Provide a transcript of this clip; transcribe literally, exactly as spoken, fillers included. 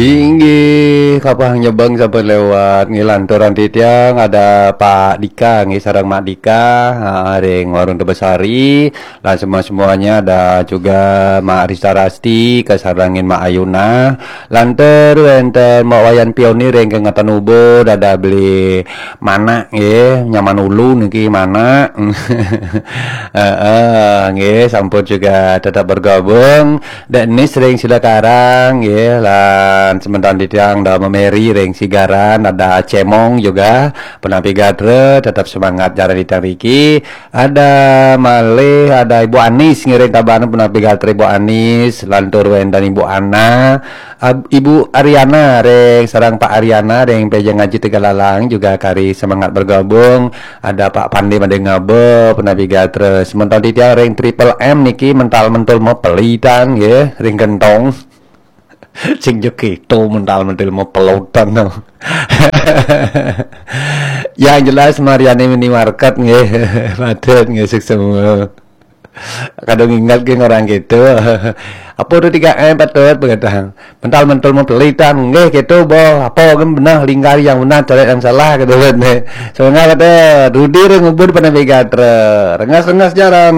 Inggih, kapah nyebeng sampun lewat. Nggih, lanturan titiang ada Pak Dika, nggih, sareng Mak Dika, ha, ring Warung Tebesari. Lan semua-semuanya ada juga Mak Rista Rasti, kasarengin Mak Ayuna. Lantur wenten Mak Wayan Pioni ring kengatan Ubud, ada beli Mana, nggih, nyaman ulu niki Mana. Heeh, nggih, sampun juga tetap bergabung. Dek Nis ring Sidakarang, nggih, lan semeton titiang da Memeri ring Sigaran, ada Cemong juga, punapi gatra, tetap semangat jalan titiang riki. Ada malih, ada Ibu Anis ngiring Tabanan, punapi gatra Ibu Anis, lantur wenten Ibu Ana, Ab- Ibu Ariana ring sareng Pak Ariana ring Pejeng Aji Tegalalang juga kari semangat bergabung. Ada Pak Pandi Madé Ngaba, punapi gatra. Semeton titiang ring Triple M niki mental mentul mapelitan nggih, ring gentong. Sing jek itu mental mentul mapelutan no. Yang jelas Mariani Minimarket nggih. Patut nggih, sukses semua. Kadung ingat ke orang gitu. Apa tu tiga M patut begatang. Mental mentul mapelitan nggih gitu boh. Apa kan benar lingkar yang benar, coret yang salah gitu kan. Semangat kata Rudi ring Ubud, punapi gatra. Rengas-rengas jalan.